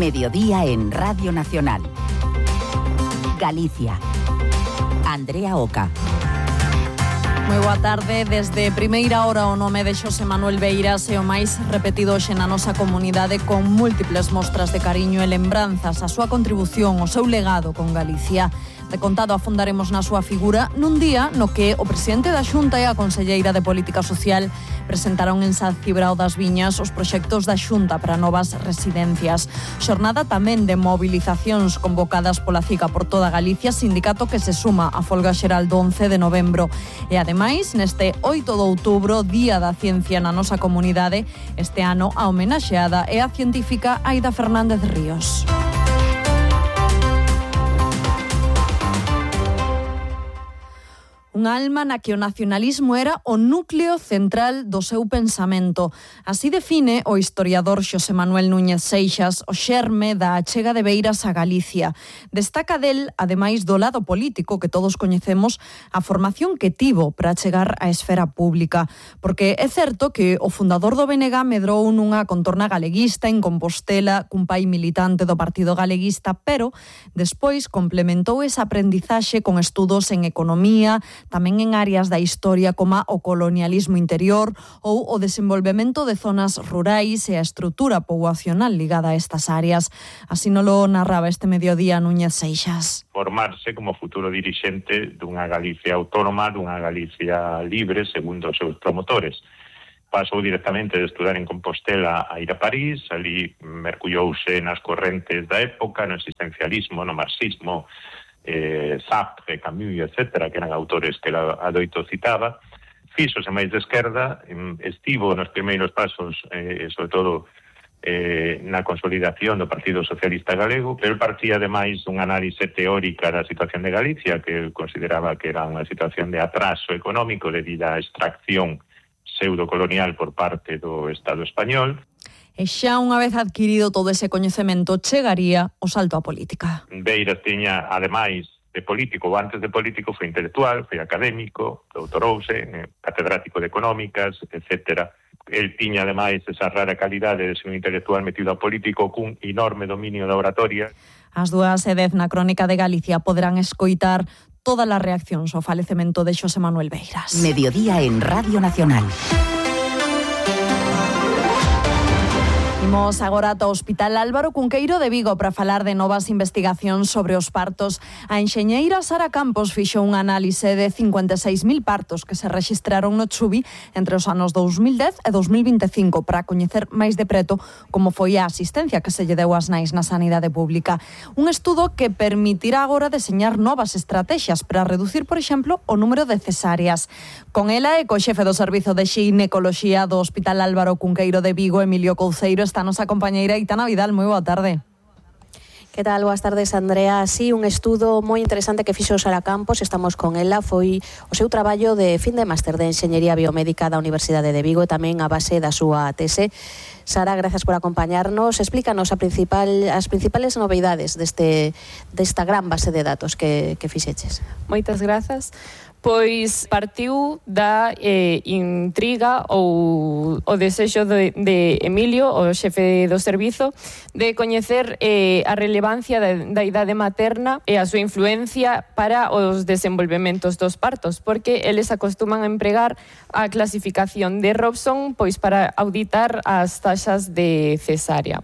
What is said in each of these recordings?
Mediodía en Radio Nacional. Galicia. Andrea Oca. Moi boa tarde. Desde primeira hora o nome de Xosé Manuel Beiras é o máis repetido hoxe na nosa comunidade, con múltiples mostras de cariño e lembranzas a súa contribución, o seu legado con Galicia. De contado afondaremos na súa figura nun día no que o presidente da Xunta e a conselleira de Política Social presentaron en San Cibrao das Viñas os proxectos da Xunta para novas residencias. Xornada tamén de movilizacións convocadas pola CICA por toda Galicia, sindicato que se suma á folga xeral do 11 de novembro. E ademais, neste 8 de outubro, Día da Ciencia na nosa comunidade, este ano a homenaxeada é a científica Aida Fernández Ríos. Unha alma na que o nacionalismo era o núcleo central do seu pensamento. Así define o historiador Xosé Manuel Núñez Seixas o xerme da achega de Beiras a Galicia. Destaca del, ademais do lado político que todos coñecemos, a formación que tivo para chegar á esfera pública. Porque é certo que o fundador do BNG medrou nunha contorna galeguista en Compostela, cun pai militante do Partido Galeguista, pero despois complementou esa aprendizaxe con estudos en economía, tamén en áreas da historia como o colonialismo interior ou o desenvolvemento de zonas rurais e a estrutura poboacional ligada a estas áreas. Así nolo narraba este mediodía Núñez Seixas. Formarse como futuro dirixente dunha Galicia autónoma, dunha Galicia libre, segundo os seus promotores. Pasou directamente de estudar en Compostela a ir a París, ali mergullouse nas correntes da época, no existencialismo, no marxismo, Sartre, Camus, etc., que eran autores que adoito citaba. Fíxose máis de esquerda, estivo nos primeiros pasos, sobre todo na consolidación do Partido Socialista Galego, pero partía ademais dunha análise teórica da situación de Galicia, que consideraba que era unha situación de atraso económico debido á extracción pseudocolonial por parte do Estado español. E xa unha vez adquirido todo ese coñecemento, chegaría o salto á política. Beiras tiña, ademais de político, ou antes de político, foi intelectual, foi académico, doutorouse, catedrático de económicas, etc. El tiña, ademais, esa rara calidade de ser un intelectual metido a político cun enorme dominio da oratoria. As 2:10 na Crónica de Galicia poderán escoitar todas as reaccións ao falecemento de Xosé Manuel Beiras. Mediodía en Radio Nacional. Imos agora ata o Hospital Álvaro Cunqueiro de Vigo para falar de novas investigacións sobre os partos. A enxeñeira Sara Campos fixo unha análise de 56.000 partos que se rexistraron no Chubi entre os anos 2010 e 2025 para coñecer máis de preto como foi a asistencia que se lle deu ás nais na sanidade pública. Un estudo que permitirá agora deseñar novas estrategias para reducir, por exemplo, o número de cesáreas. Con ela e co xefe do Servizo de Xinecoloxía do Hospital Álvaro Cunqueiro de Vigo, Emilio Couceiro, está nosa compañeira Aitana Vidal. Moi boa tarde. Que tal? Boas tardes, Andrea. Sí, un estudo moi interesante que fixo Sara Campos, estamos con ela, foi o seu traballo de fin de máster de Enxeñería Biomédica da Universidade de Vigo e tamén a base da súa tese. Sara, gracias por acompañarnos. Explícanos as principales novidades desta gran base de datos que fixeches. Moitas grazas. Pois partiu da intriga ou o desexo de Emilio, o xefe do servizo, de coñecer a relevancia da idade materna e a súa influencia para os desenvolvementos dos partos, porque eles acostuman a empregar a clasificación de Robson pois para auditar as taxas de cesárea.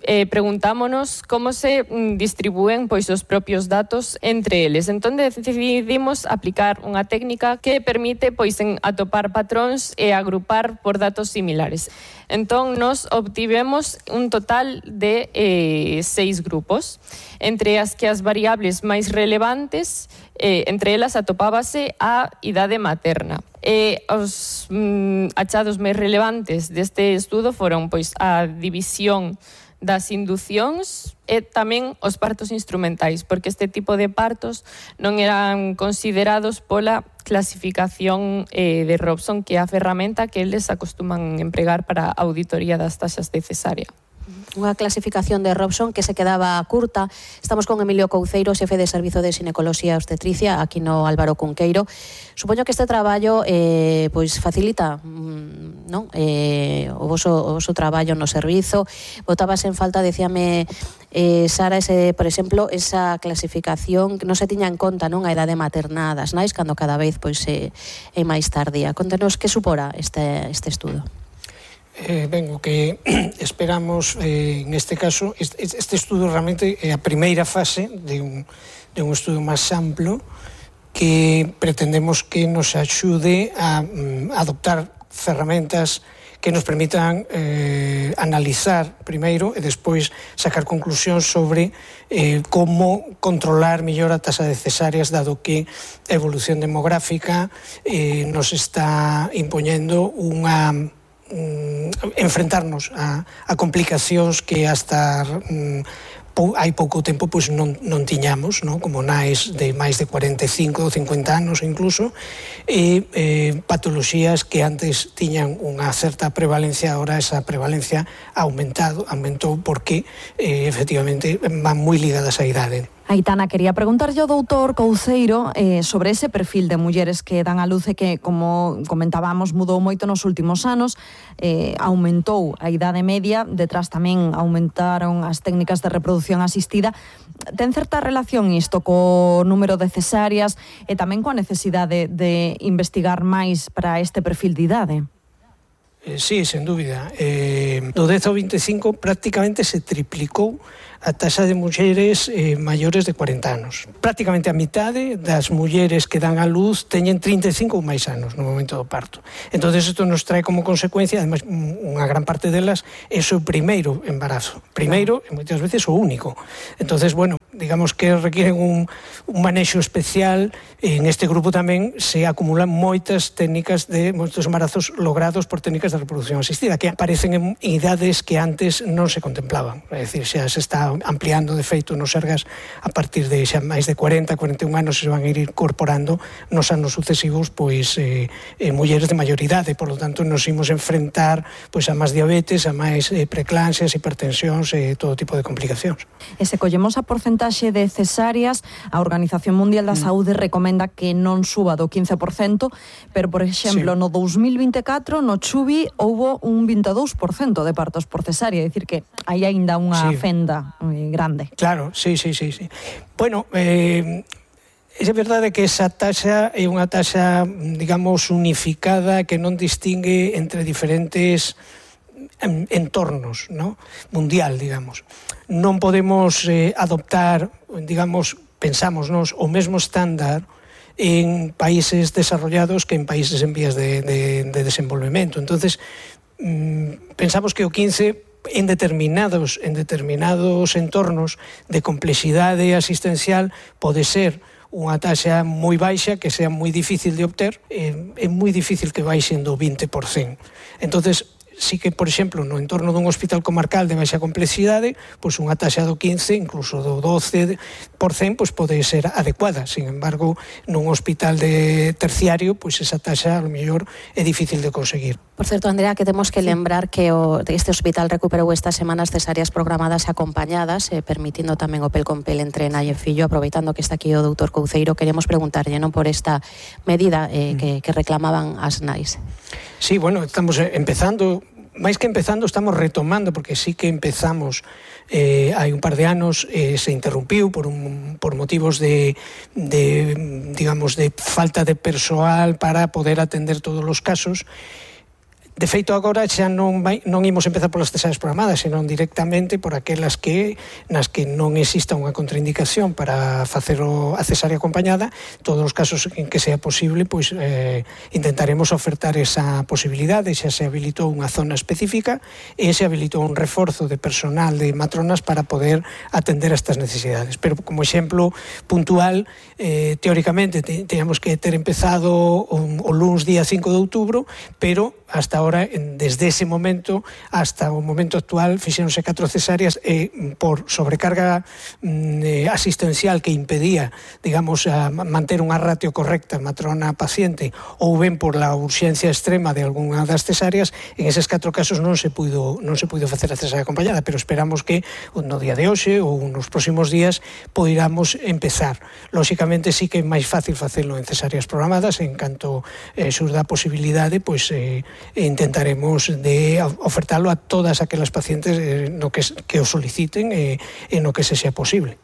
Preguntámonos como se distribúen pois os propios datos entre eles. Entón decidimos aplicar unha técnica que permite pois atopar patróns e agrupar por datos similares. Entón nos obtivemos un total de 6 grupos, entre as que as variables máis relevantes, entre elas atopábase a idade materna. Os achados máis relevantes deste estudo foron pois a división das inducións e tamén os partos instrumentais, porque este tipo de partos non eran considerados pola clasificación de Robson, que é a ferramenta que eles acostuman empregar para a auditoría das taxas de cesárea. unha clasificación de Robson que se quedaba curta. Estamos con Emilio Couceiro, xefe de Servizo de Xinecoloxía e Obstetricia, aquí no Álvaro Cunqueiro. Supoño que este traballo pois facilita non? O voso traballo no servizo. Botabas en falta, decíame Sara, por exemplo, esa clasificación que non se tiña en conta, non, a idade materna das nais, cando cada vez pois é máis tardía. Contenos que supora este estudo. Ben, o que esperamos neste caso, este estudo realmente é a primeira fase de un estudo máis amplo que pretendemos que nos axude a adoptar ferramentas que nos permitan analizar primeiro e despois sacar conclusións sobre como controlar mellor a taxa de cesáreas, dado que a evolución demográfica nos está impoñendo enfrentarnos a complicacións que hasta hai pouco tempo pois non tiñamos, non? Como nais de máis de 45 ou 50 anos incluso, e patoloxías que antes tiñan unha certa prevalencia, agora esa prevalencia aumentou porque efectivamente van moi ligadas á idade. Aitana, quería preguntarlle ao doutor Couceiro sobre ese perfil de mulleres que dan a luz e que, como comentábamos, mudou moito nos últimos anos, aumentou a idade media, detrás tamén aumentaron as técnicas de reproducción asistida. Ten certa relación isto co número de cesáreas e tamén coa necesidade de investigar máis para este perfil de idade? Sí, sen dúbida. Do 10 ao 25 prácticamente se triplicou a taxa de mulleres maiores de 40 anos. Prácticamente a mitade das mulleres que dan a luz teñen 35 ou máis anos no momento do parto. Entonces isto nos trae como consecuencia, además, unha gran parte delas é o seu primeiro embarazo. Primeiro, e moitas veces o único. Entonces, bueno, digamos que requieren un manexo especial. En este grupo tamén se acumulan moitas técnicas moitos embarazos logrados por técnicas de reproducción asistida, que aparecen en idades que antes non se contemplaban. É dicir, xa se está ampliando, de feito, nos Sergas a partir de xa máis de 40, 41 anos se van a ir incorporando nos anos sucesivos pois mulleres de maior idade, por lo tanto nos imos enfrentar pois a máis diabetes, a máis preeclampsias, hipertensións e todo tipo de complicacións. E se collemos a porcentaxe de cesáreas, a Organización Mundial da Saúde recomenda que non suba do 15%, pero, por exemplo, no 2024, no Chubi, houbo un 22% de partos por cesárea, é dicir que hai aínda unha fenda grande. Claro, sí. Bueno, é verdade que esa taxa é unha taxa, digamos, unificada, que non distingue entre diferentes entornos, ¿no? Mundial, digamos. Non podemos adoptar, digamos, pensámonos, o mesmo estándar en países desarrollados que en países en vías de desenvolvemento. Entonces, pensamos que o 15 en determinados entornos de complexidade asistencial pode ser unha taxa moi baixa que sea moi difícil de obter, é moi difícil que baixen do 20%. Entonces, sí que, por exemplo, no entorno dun hospital comarcal de baixa complexidade, pois unha taxa do 15, incluso do 12%, pois pode ser adecuada. Sin embargo, nun hospital de terciario, pois esa taxa, a lo mellor, é difícil de conseguir. Por certo, Andrea, que temos que lembrar que este hospital recuperou estas semanas cesáreas programadas e acompañadas, permitindo tamén o pel con pel entre nai e fillo. Aproveitando que está aquí o doutor Couceiro, queremos preguntarlle non por esta medida que reclamaban as nais. Sí, bueno, estamos empezando, máis que empezando, estamos retomando, porque sí que empezamos hai un par de anos, se interrumpiu por motivos de digamos, de falta de persoal para poder atender todos os casos. De feito, agora xa non imos empezar polas cesáreas programadas, senón directamente por aquelas nas que non exista unha contraindicación para facer a cesárea acompañada. Todos os casos en que sea posible, pois intentaremos ofertar esa posibilidade. Xa se habilitou unha zona específica e se habilitou un reforzo de personal de matronas para poder atender a estas necesidades. Pero como exemplo puntual, teóricamente teníamos que ter empezado o luns día 5 de outubro, pero hasta ahora, desde ese momento hasta o momento actual, fixéronse 4 cesáreas e por sobrecarga asistencial que impedía, digamos, a manter unha ratio correcta matrona-paciente, ou ben por la urxencia extrema de algunha das cesáreas, en eses 4 casos non se puido facer a cesárea acompañada, pero esperamos que no día de hoxe ou nos próximos días poiramos empezar. Lóxicamente sí que é máis fácil facelo en cesáreas programadas, en canto surda a posibilidade, pois intentaremos de ofertalo a todas aquelas pacientes no que o soliciten e no que se sea posible.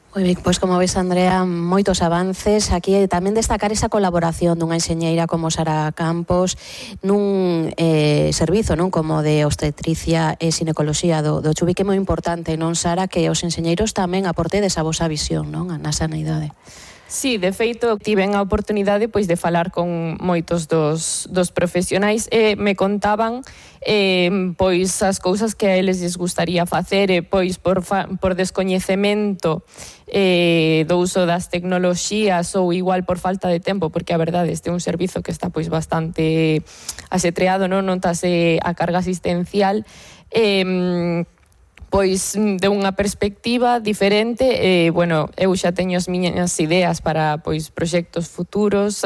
Moi ben, pois como ves, Andrea, moitos avances. Aquí tamén destacar esa colaboración dunha enxeñeira como Sara Campos nun servizo, non, como de obstetricia e xinecoloxía do Chubi, que é moi importante, non, Sara, que os enxeñeiros tamén aportedes a vosa visión, non, na sanidade. Sí, de feito, tiven a oportunidade pois de falar con moitos dos profesionais e me contaban pois as cousas que a eles lles gustaría facer e pois por descoñecemento do uso das tecnoloxías ou igual por falta de tempo, porque a verdade este é un servizo que está pois bastante asetreado, non notase a carga asistencial, pois de unha perspectiva diferente, bueno, eu xa teño as miñas ideas para pois proxectos futuros,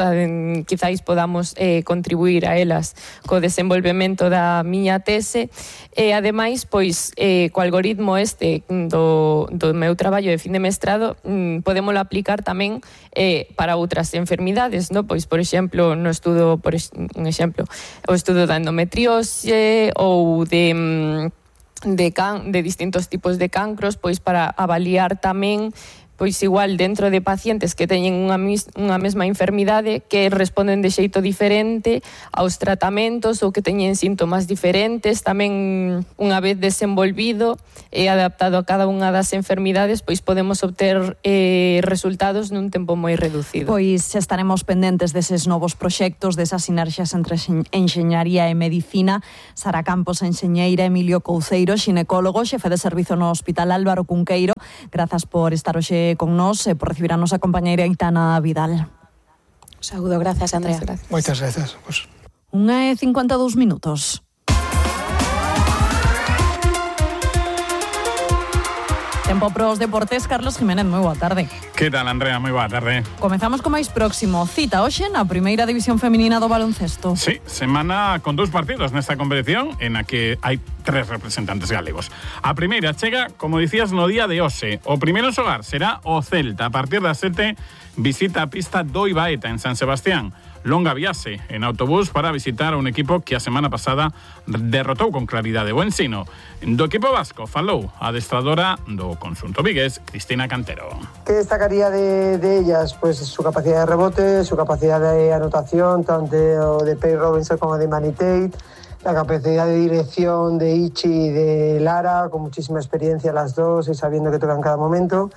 quizáis podamos contribuir a elas co desenvolvemento da miña tese, e ademais pois co algoritmo do meu traballo de fin de mestrado podémolo aplicar tamén para outras enfermidades, no? Pois por exemplo, no estudo, un exemplo, o estudo da endometriose ou de distintos tipos de cancros, pois para avaliar tamén pois igual dentro de pacientes que teñen unha mesma enfermidade que responden de xeito diferente aos tratamentos ou que teñen síntomas diferentes, tamén unha vez desenvolvido e adaptado a cada unha das enfermidades, pois podemos obter resultados nun tempo moi reducido. Pois estaremos pendentes deses novos proxectos, desas sinerxias entre enxeñaría e medicina. Sara Campos, enxeñeira, Emilio Couceiro, xinecólogo, xefe de servizo no Hospital Álvaro Cunqueiro. Grazas por estar hoxe con nós e por recibir a nosa compañeira Aitana Vidal. Saúdo, gracias, Andrea. Moitas grazas. 1:52 minutos. Tempo pros deportes, Carlos Jiménez, moi boa tarde. Que tal, Andrea? Moi boa tarde. Comezamos co máis próximo. Cita hoxe na primeira división feminina do baloncesto. Sí, semana con 2 partidos nesta competición en a que hai 3 representantes galegos. A primeira chega, como dicías, no día de hoxe. O primeiro xogar será o Celta. A partir das 7 visita a pista do Ibaeta en San Sebastián. Longa viaxe en autobús para visitar un equipo que a semana pasada derrotou con claridade o Ensino. Do equipo vasco falou a adestradora do conxunto vigués, Cristina Cantero. ¿Qué destacaría de ellas? Pues su capacidad de rebote, su capacidad de anotación, tanto de Pei Robinson como de Manny Tate, la capacidad de dirección de Ichi y de Lara, con muchísima experiencia las dos y sabiendo que tocan cada momento.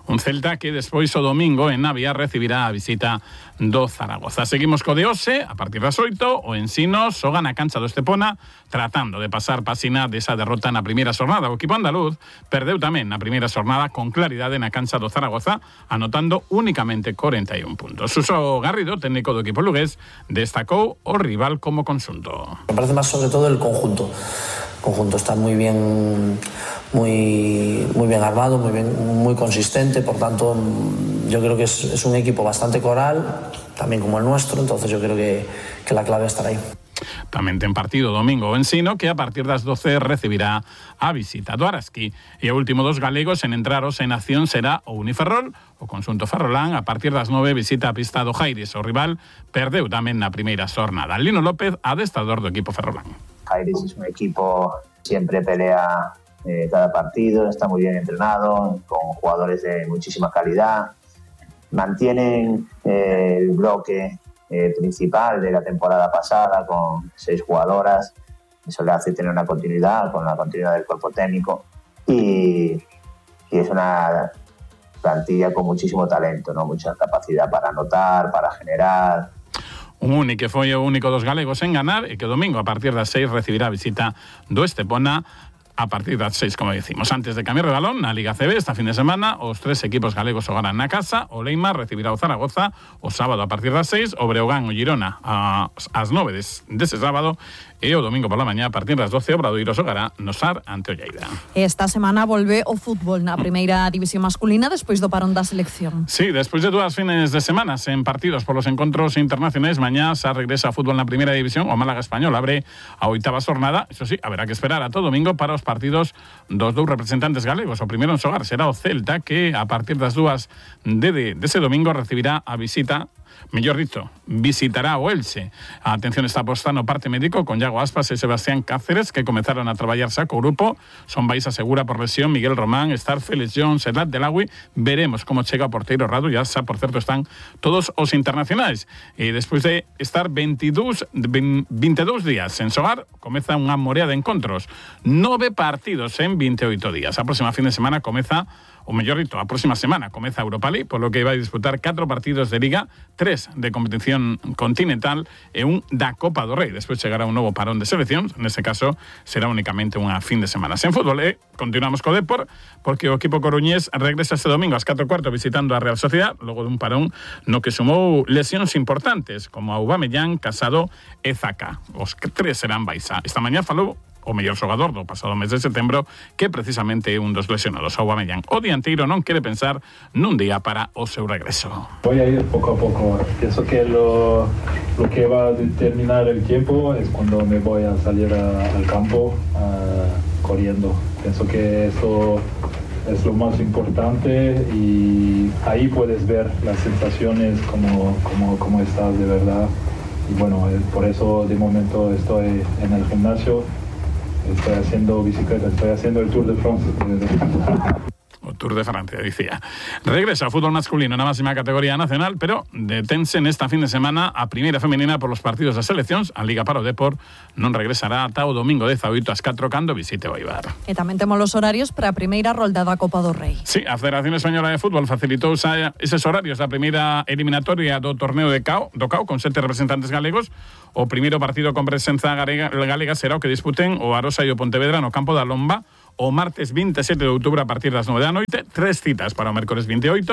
Un Celta que despois o domingo en Navia recibirá a visita do Zaragoza. Seguimos co de hoxe, a partir das 8, o Ensino xoga na cancha do Estepona tratando de pasar páxina desa derrota na primeira xornada. O equipo andaluz perdeu tamén na primeira xornada con claridade na cancha do Zaragoza, anotando únicamente 41 puntos. Suso Garrido, técnico do equipo lugués, destacou o rival como conxunto. Me parece máis sobre todo el conjunto. El conjunto está muy bien armado, muy consistente, por tanto yo creo que es un equipo bastante coral, también como el nuestro, entonces yo creo que la clave estará ahí. Tamén ten partido domingo o Ensino, que a partir das 12 recibirá a visita do Araski. E o último dos galegos en entraros en acción será o Uniferrol. O conxunto ferrolán a partir das 9 visita a pista do Jairis. O rival perdeu tamén na primeira xornada. Lino López, adestrador do equipo ferrolán. Jairis es un equipo siempre pelea cada partido, está muy bien entrenado, con jugadores de muchísima calidad, mantienen el bloque principal de la temporada pasada con 6 jugadoras, eso le hace tener una continuidad con la continuidad del cuerpo técnico y es una plantilla con muchísimo talento, ¿no? Mucha capacidad para anotar, para generar. Un único que foi o único dos galegos en ganar e que domingo a partir das 6 recibirá a visita do Estepona a partir das 6, como decimos. Antes de cambiar de balón, na Liga CB, esta fin de semana, os 3 equipos galegos xogarán na casa. O Leimar recibirá o Zaragoza o sábado a partir das 6, o Breogán o Girona ás 9 dese sábado, e o domingo pola mañá a partir das 12 o Obradoiro xogará no Sar ante o Lleida. Esta semana volve o fútbol na primeira división masculina despois do parón da selección. Sí, despois de 2 fines de semana en partidos polos encontros internacionais, mañá xa regresa a fútbol na primeira división. O Málaga Español abre a 8ª xornada. Eso sí, haberá que esperar a todo domingo para os partidos dos 2 representantes galegos. O primeiro en xogar será o Celta, que a partir das 2 dese domingo recibirá a visita, mellor dito, visitará o Elche. A atención está posta no parte médico con Iago Aspas e Sebastián Cáceres, que comenzaron a traballar xa co grupo. Son baixa segura por lesión Miguel Román, Starfe, lesión Serrat Delagui. Veremos como chega o porteiro Radu. Ya xa, por certo, están todos os internacionais. E despois de estar 22 días sen xogar, comeza unha morea de encontros. 9 partidos en 28 días. A próxima fin de semana comeza, o mellor dito, a próxima semana comeza a Europa League, polo que vai disputar 4 partidos de Liga, 3 de competición continental e un da Copa do Rei. Despois chegará un novo parón de seleccións, nese caso será únicamente unha fin de semana. Sen fútbol, continuamos co Depor, porque o equipo coruñés regresa este domingo ás 4:15 visitando a Real Sociedad, logo dun parón no que sumou lesións importantes, como a Aubameyang, Casado e Zaka. Os 3 serán baixa. Esta mañá falou o mellor xogador do pasado mes de setembro, que precisamente é un dos lesionados, Aubameyang. O dianteiro non quere pensar nun día para o seu regreso. Voy a ir poco a poco. Pienso que lo que va a determinar el tiempo es cuando me voy a salir al campo corriendo. Pienso que eso es lo más importante y ahí puedes ver las sensaciones, cómo estás de verdad. Y bueno, por eso de momento estoy en el gimnasio. Estoy haciendo bicicleta, estoy haciendo el Tour de France. O Tour de Francia, dicía. Regresa ao fútbol masculino na máxima categoría nacional, pero detense nesta fin de semana a primeira femenina por los partidos das seleccións. A Liga para o Depor non regresará ata o domingo 18 ás 4 cando visite o Eibar. E tamén temos os horarios para a primeira rolda da Copa do Rei. Sí, a Federación Española de Fútbol facilitou eses horarios da primeira eliminatoria do torneo do CAO con 7 representantes galegos. O primeiro partido con presenza galega será o que disputen o Arosa e o Pontevedra no campo da Lomba o martes 27 de outubro a partir das 9 da noite. 3 citas para o mércores 28.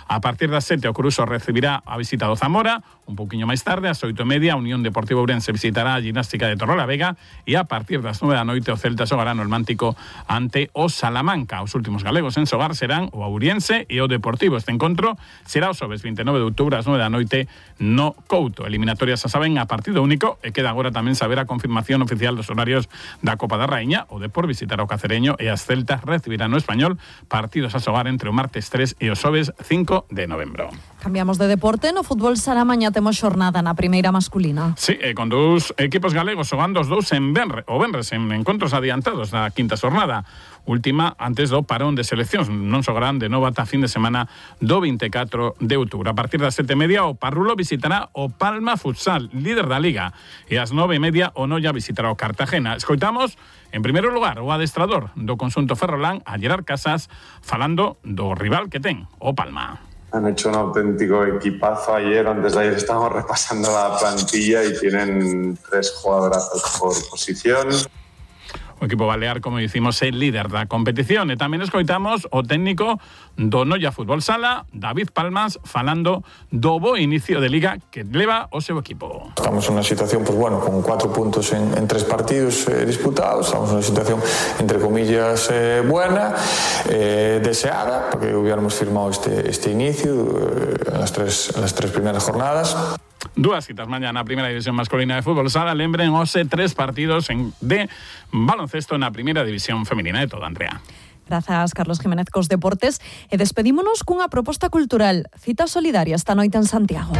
A partir das 7 o Coruso recibirá a visita do Zamora. Un poquinho máis tarde, ás 8:30, a Unión Deportiva Ourense visitará a Gimnástica de Torrelavega e a partir das 9 da noite o Celta xogará no Mántico ante o Salamanca. Os últimos galegos en xogar serán o Ouriense e o Deportivo. Este encontro será o xoves 29 de outubro ás 9 da noite no Couto. Eliminatorias, xa saben, a partido único, e queda agora tamén saber a confirmación oficial dos horarios da Copa da Raíña. O Depor visitará o Cacereño e as Celtas recibirán no Español, partidos a xogar entre o martes 3 e o xoves 5 de novembro. Cambiamos de deporte. No fútbol sala mañá temos xornada na primeira masculina. Sí, con 2 equipos galegos xogando os 2 en venres en encontros adiantados da quinta xornada, última antes do parón de seleccións. Non xogarán de novo ata fin de semana do 24 de outubro. A partir das 7:30 o Parrulo visitará o Palma Futsal, líder da Liga, e ás 9:30 o Noia visitará o Cartagena. Escoitamos, en primeiro lugar, o adestrador do conxunto ferrolán, a Gerard Casas, falando do rival que ten, o Palma. Han hecho un auténtico equipazo ayer. Antes de ayer estábamos repasando la plantilla y tienen 3 jugadorazos por posición. O equipo balear, como dicimos, é líder da competición. E tamén escoitamos o técnico do Noia Fútbol Sala, David Palmas, falando do bo inicio de Liga que leva o seu equipo. Estamos en unha situación, pues bueno, con 4 puntos en 3 partidos disputados. Estamos en unha situación, entre comillas, buena, deseada, porque hubiéramos firmado este inicio en las tres primeras jornadas. 2 citas mañá na primeira división masculina de fútbol sala. Lembren os 3 partidos de baloncesto na primeira división femenina de todo, Andrea. Grazas, Carlos Jiménez, cos deportes. E despedímonos cunha proposta cultural. Cita solidaria esta noite en Santiago.